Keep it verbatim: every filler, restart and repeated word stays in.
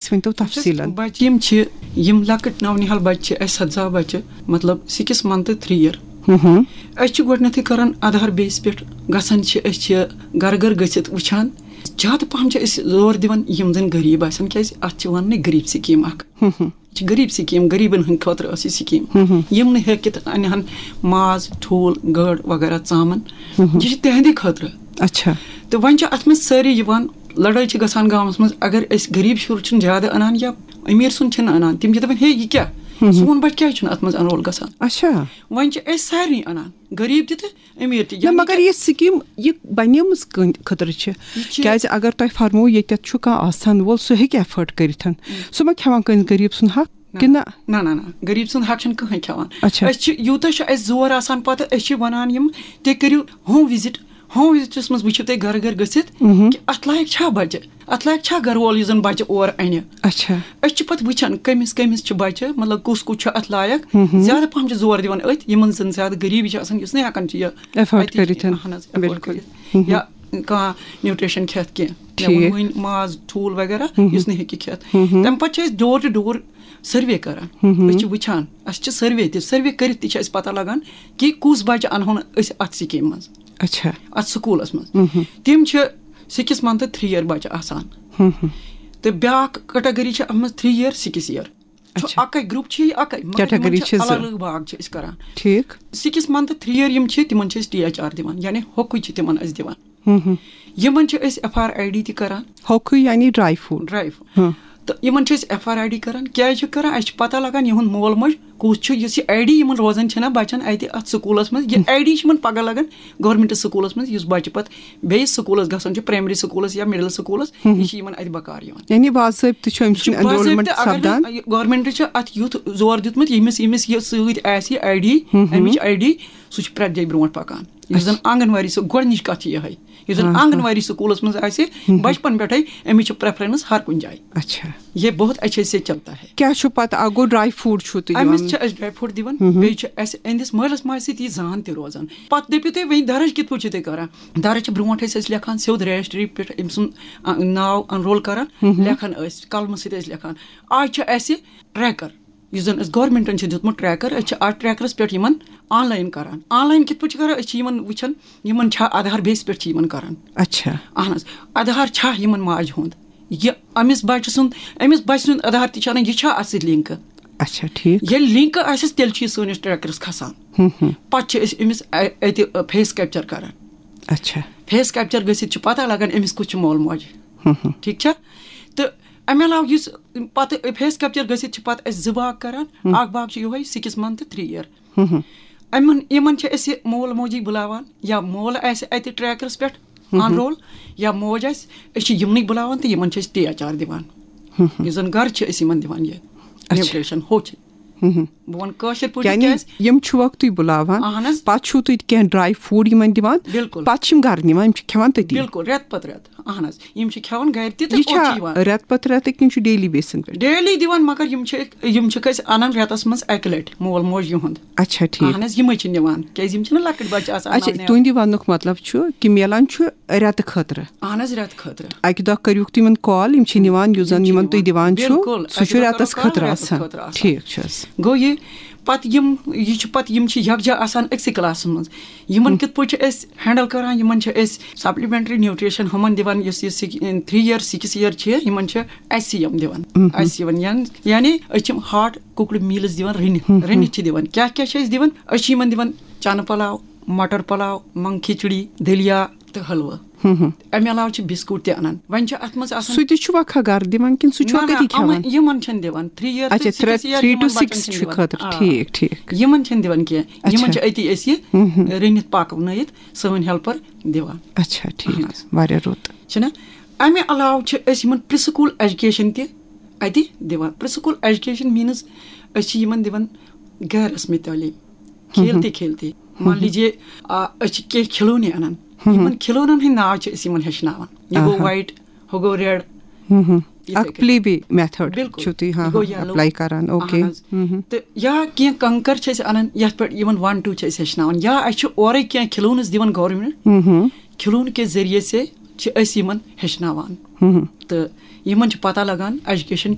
أسۍ ؤنۍ تو تفصیٖلن۔ بچہِ یِم چھِ، یِم لۄکٕٹۍ نونہال بچہِ چھِ اَسہِ، سَتھ زا بچہِ، مطلب سِکِس منتھ تھری ییر۔ ہُم۔ أسۍ چھِ گۄڈٕنیتھٕے کران آدھار بیس پٮ۪ٹھ گژھان چھِ، أسۍ چھِ گرٕ گرٕ گٔژھِتھ وٕچھان۔ زیادٕ پہم چھِ أسۍ زور دِوان یِم زن غریٖب آسن، کیازِ اتھ چھِ وننٕے غریٖب سکیٖم اکھ۔ ہُم ہُم۔ یہِ چھِ غریٖب سکیٖم، غریٖبن ہٕنٛدِ خٲطرٕ ٲس یہِ سکیٖم۔ ہُم ہُم۔ یِم نہٕ ہیٚکِتھ انہن ماز، ٹھوٗل، گٔر وغیرہ ژامن، ہُم ہُم۔ یہِ چھِ تِہنٛدے خٲطرٕ۔ اچھا۔ تہٕ وۄنۍ چھِ اتھ منٛز سٲری یِوان، لڑٲے چھِ گژھان گامس منٛز، اگر أسۍ غریٖب شُر چھُنہٕ زیادٕ انان یا أمیٖر سُنٛد چھِنہٕ انان، تِم چھِ دپان، ہے، یہِ کیٛاہ؟ ہُم ہُم۔ سون بچہِ کیٛازِ چھُنہٕ اتھ منٛز انرول گژھان؟ اچھا۔ وۄنۍ چھِ أسۍ سارنٕے انان، غریٖب تہِ تہٕ أمیٖر تہِ۔ نہ، مگر یہِ سکیٖم، یہِ بنیمٕژ کٕہٕنٛدِ خٲطرٕ چھِ؟ یہِ چھِ کیازِ اگر تۄہہِ فرمو ییٚتٮ۪تھ چھُ کانٛہہ آسان وول، سُہ ہیٚکہِ ایفٲرڈ کٔرِتھ، سُہ ما کھٮ۪وان کٲنٛسہِ غریٖب سُنٛد حق؟ نہ، کِنہٕ نہ؟ نہ، نہ، نہ، غریٖب سُنٛد حق چھُنہٕ کٕہٕنۍ کھٮ۪وان۔ اچھا۔ أسۍ چھِ، یوٗتاہ چھُ اَسہِ زور آسان پتہٕ، أسۍ چھِ وَنان یِم، تُہۍ کٔرِو ہوم وِزِٹ، ہوم وِزِٹَس منٛز وٕچھِو تُہۍ گَرٕ گَرٕ گٔژھِتھ، مہم۔ کہِ اَتھ لایق چھا بَچہِ، اَتھ لایق چھا گَرٕ وول یُس زَن بَچہِ اور اَنہِ۔ اچھا۔ أسۍ چھِ پَتہٕ وٕچھان کٔمِس کٔمِس چھِ بَچہِ، مطلب کُس کُس چھُ اَتھ لایق۔ مہم۔ زیادٕ پَہَم چھِ زور دِوان أتھۍ، یِمَن زَن زیادٕ غریٖبی چھِ آسان، یُس نہٕ ہٮ۪کان چھِ یہِ ایفٲرڈ اَتی چھِ، کٔرِتھ۔ اَہَن حظ، ایفٲرڈ بِلکُل۔ کٔرِتھ۔ مہم۔ یا کانٛہہ نیوٗٹریشن کھٮ۪تھ کینٛہہ۔ مےٚ ٹھیٖک۔ ووٚن وۄنۍ ماز، ٹھوٗل وغیرہ، مہم۔ یُس نہٕ ہیٚکہِ کھٮ۪تھ۔ مہم۔ تَمہِ پَتہٕ چھِ أسۍ ڈور ٹُو ڈور سٔروے کران۔ مہم۔ أسۍ چھِ وٕچھان، اَسہِ چھِ سٔروے تہِ، سٔروے کٔرِتھ تہِ چھِ اَسہِ پَتہ لگان کہِ کُس بَچہٕ اَنہون أسۍ اَتھ سِکیٖم منٛز، اچھا۔ اَتھ سکوٗلَس منٛز۔ مہم۔ تِم چھِ سِکِس منتھ تھری ییر بَچہٕ آسان۔ مہم۔ تہٕ بیٛاکھ کیٹاگری چھِ اَتھ منٛز تھری ییر، سِکِس ییر۔ چھُ اچھا۔ اَکٕے گروپ، چھِ یہِ اَکٕے، مگر کیٹاگری یِمَن چھِ چھِ زٕ۔ الگ الگ باگ چھِ أسۍ کران۔ ٹھیٖک۔ سِکِس منتھ تھری ییر یِم چھِ، تِمَن چھِ أسۍ ٹی ایچ آر دِوان، یعنی ہوٚکُے چھِ تِمَن أسۍ دِوان۔ مہم۔ یِمَن چھِ أسۍ ایف آر آی ڈی تہِ کران۔ ہوٚکُے یعنی ڈرائی فروٹ۔ Dry fruit. ہاں۔ تہٕ یِمَن چھِ أسۍ ایف آر آی ڈی کران۔ کیٛازِ چھِ کران؟ اَسہِ چھِ پَتہ لگان یِہُنٛد مول موج کُس چھُ، یُس یہِ آی ڈی یِمَن روزان چھِنہ بَچَن اَتہِ اَتھ سکوٗلَس منٛز، یہِ آی ڈی چھِ یِمَن پَگاہ لگان گورمٮ۪نٛٹ سکوٗلَس منٛز، یُس بَچہِ پَتہٕ بیٚیِس سکوٗلَس گژھان چھُ، پرٛایمری سکوٗلَس یا مِڈل سکوٗلَس، یہِ چھِ یِمَن اَتہِ بکار یِوان۔ یعنی باضٲبطہٕ چھُ أمۍ چھُ سُنٛد انرولمنٹ باضٲبطہٕ، اگر سپدان۔ نہٕ گورمٮ۪نٛٹ چھِ اَتھ یُتھ زور دیُتمُت، ییٚمِس، ییٚمِس یہِ سۭتۍ آسہِ یہِ آی ڈی، اَمِچ آی ڈی، سُہ چھُ پرٛٮ۪تھ جایہِ برونٛٹھ پَکان۔ یُس زَن آنگن واڑی، سُہ گۄڈٕنِچ کَتھ چھِ یِہوٚے، یُس زَن آ، آ۔ آنگن واڑی سکوٗلَس منٛز آسہِ، بچپن پٮ۪ٹھَے أمِس چھِ پریفرنس ہر کُنہِ جایہِ۔ اچھا۔ یہ بہت اچھے سے چلتا ہے۔ کیٛاہ چھُ پتہٕ؟ اکھ گوٚو ڈرائی فروٹ چھُو تُہۍ دِوان۔ أمِس چھِ أسۍ ڈرائی فروٹ دِوان، مہم۔ بیٚیہِ چھِ اَسہِ أہٕنٛدِس مٲلِس ماجہِ سۭتۍ یہِ زان تہِ روزان۔ پتہٕ دٔپِو تُہۍ وۄنۍ درٕج کِتھ پٲٹھۍ چھِو تُہۍ کران؟ درٕج چھِ برونٛٹھ ٲسۍ أسۍ لیکھان سیوٚد رجسٹری پٮ۪ٹھ أمۍ سُنٛد، آ، ناو انرول کران، مہم۔ لیکھان ٲسۍ، قلمہٕ سۭتۍ ٲسۍ لیکھان۔ آز چھِ اَسہِ ٹریکر، یُس زن اَسہِ گورمنٹن چھُ دیُتمُت ٹریکر، أسۍ چھِ اَتھ ٹریکرس پٮ۪ٹھ یِمن آن لائن کران۔ آن لائن کِتھ پٲٹھۍ چھِ کران؟ أسۍ چھِ یِمن وٕچھان، یِمن چھا آدھار بیس پٮ۪ٹھ چھِ یِمن کران۔ اچھا۔ اہن حظ، آدھار چھا یِمن ماجہِ ہُنٛد؟ یہِ أمِس بچہِ سُنٛد، أمِس بچہِ سُنٛد آدھار تہِ چھا انان، یہِ چھا اَتھ سۭتۍ لِنکہٕ؟ اچھا، ٹھیٖک۔ ییٚلہِ لِنکہٕ آسٮ۪س، تیٚلہِ چھُ یہِ سٲنِس ٹریکرس کھسان۔ ہُم، ہُم۔ پتہٕ چھِ أسۍ أمِس اَ-، اَتہِ فیس کیپچر کران۔ اچھا۔ فیس کیپچر گٔژھِتھ چھُ پتہ لگان أمِس کُس چھُ مول موج۔ ہُم، ہُم۔ ٹھیٖک چھا؟ تہٕ اَمہِ علاوٕ یُس پتہٕ فیس کیپچر گٔژھِتھ چھِ پتہٕ أسۍ زٕ باغ کران، اکھ باغ چھُ یِہوٚے سِکِس منتھ تھری ییر۔ ہُم، ہُم۔ یِمن، یِمن چھِ أسۍ یہِ مول موجی بُلاوان یا مول آسہِ اَتہِ ٹریکرس پٮ۪ٹھ انرول یا موج آسہِ، أسۍ چھِ یِمنٕے بُلاوان تہٕ یِمن چھِ أسۍ ٹی ایچ آر دِوان۔ یُس زن گرٕ چھِ أسۍ یِمن دِوان یہِ اچھا۔ نیوٹریشن، ہُہ چھِ۔ ہُم، ہُم۔ بہٕ وَنہٕ کٲشِر پٲٹھۍ یعنی کیٛازِ؟ یِم چھِوکھ تُہۍ بُلاوان، اہن حظ۔ پتہٕ چھِو تُہۍ کینٛہہ ڈرائی فروٹ یِمن دِوان، بِلکُل۔ پتہٕ چھِ یِم گرٕ نِوان، یِم چھِ کھٮ۪وان تٔتی۔ بِلکُل، رٮ۪تہٕ پتہٕ رٮ۪تہٕ۔ اہن حظ، یِم چھِ کھٮ۪وان گرِ تہِ تہٕ یہِ اورٕ چھِ چھا یِوان۔ رٮ۪تہٕ پتہٕ رٮ۪تہٕ کِنہٕ چھُ ڈیلی بیسن پٮ۪ٹھ؟ ڈیلی دِوان، مگر یِم چھِ، یِم چھِکھ أسۍ انان رٮ۪تس منٛز اکہِ لٹہِ، مول موج یِہُنٛد۔ اچھا، ٹھیٖک۔ اہن حظ، یِمے چھِ نِوان، کیٛازِ یِم چھِنہٕ لۄکٕٹۍ بچہٕ آسان اچھا، نَو نٮ۪وان۔ تُہٕنٛدِ وننُک مطلب چھُ کہِ میلان چھُ رٮ۪تہٕ خٲطرٕ۔ اہن حظ، رٮ۪تہٕ خٲطرٕ۔ اکہِ دۄہ کٔرِوکھ تُہۍ یِمن کال، یِم چھِ نِوان، یُس زن یِم چھِ یِمن نِوان۔ تُہۍ دِوان چھِو، بِلکُل، سُہ چھُ اَکہِ دۄہ رٮ۪تس کَرو کال، خٲطرٕ رٮ۪تس آسان۔ خٲطرٕ آسان۔ ٹھیٖک چھُ حظ۔ گوٚو یہِ، پتہٕ یِم، یہِ چھُ پتہٕ، یِم چھِ یکجا آسان أکسٕے کلاسس منٛز۔ یِمن کِتھ پٲٹھۍ چھِ أسۍ ہینڈل کران؟ یِمن چھِ أسۍ سپلمنٹری نیوٹریشن ہُمن دِوان، یُس یہِ تھری ییر، سِکِس ییر چھِ، یِمن چھِ ایس سی ایم دِوان۔ ایس سی ایم یعنی، یعنی أسۍ چھِ ہاٹ کُکڈ میلز دِوان رٔنِتھ، رٔنِتھ چھِ دِوان۔ کیٛاہ کیٛاہ چھِ أسۍ دِوان؟ أسۍ چھِ یِمن دِوان چنہٕ پلاو، مٹر پلاو، منٛگ کھچڑی، دٔلیا تہٕ حلوٕ۔ امہِ علاوٕ چھِ بسکوٹ تہِ انان۔ وۄنۍ چھِ اتھ منٛز آسان، سُہ تہِ چھُوا کھا گرٕ دِوان کِنہٕ سُہ چھُوا نہ، نہ، کٔتی کھٮ۪وان؟ یِمن، یِمن چھِنہٕ دِوان۔ تھری ییر اچھا، تہٕ سِکِس ییر تھری ٹو یِمن بچن سِکِس چھِنہٕ چھُ دِوان۔ خٲطرٕ۔ آ۔ ٹھیٖک، ٹھیٖک۔ یِمن چھِنہٕ دِوان کینٛہہ۔ یِمن اچھا۔ چھِ أتی أسۍ یہِ رٔنِتھ پکنٲیِتھ سٲنۍ ہیلپر دِوان۔ اچھا، ٹھیٖک۔ اہن حظ۔ واریاہ رُت۔ چھِنہ؟ امہِ علاوٕ چھِ أسۍ یِمن پری سکول ایجوکیشن تہِ اتہِ دِوان۔ پری سکول ایجوکیشن مینز أسۍ چھِ یِمن دِوان غیر رسمی تعلیٖم، کھیلتے کھیلتے۔ مان لیجیے، آ، أسۍ چھِ کینٛہہ کھلونے انان۔ یِمن کھلونن ہٕنٛدۍ ناو چھِ أسۍ یِمن ہیٚچھناوان۔ یہِ گوٚو آہا۔ وایٹ، ہُہ گوٚو ریڈ۔ ہُم ہُم۔ یِتھے اکھ کٔنۍ۔ پلے وے میتھڈ بِلکُل۔ چھُو تُہۍ، ہاں، یہِ گوٚو ہاں، یَلو۔ اپلاے کران۔ اوکے۔ اہن حظ۔ ہُم ہُم۔ تہٕ یا کینٛہہ کنکر چھِ أسۍ انان، یتھ پٮ۪ٹھ یِمن ون ٹو چھِ أسۍ ہیٚچھناوان، یا اَسہِ چھِ اورے کینٛہہ کھلونہٕ دِوان گورمنٹ۔ ہُم ہُم۔ کھلونہٕ کے ذٔریعہٕ سے چھِ أسۍ یِمن ہیٚچھناوان۔ تہٕ یِمن چھِ پتہ لگان ایجوکیشن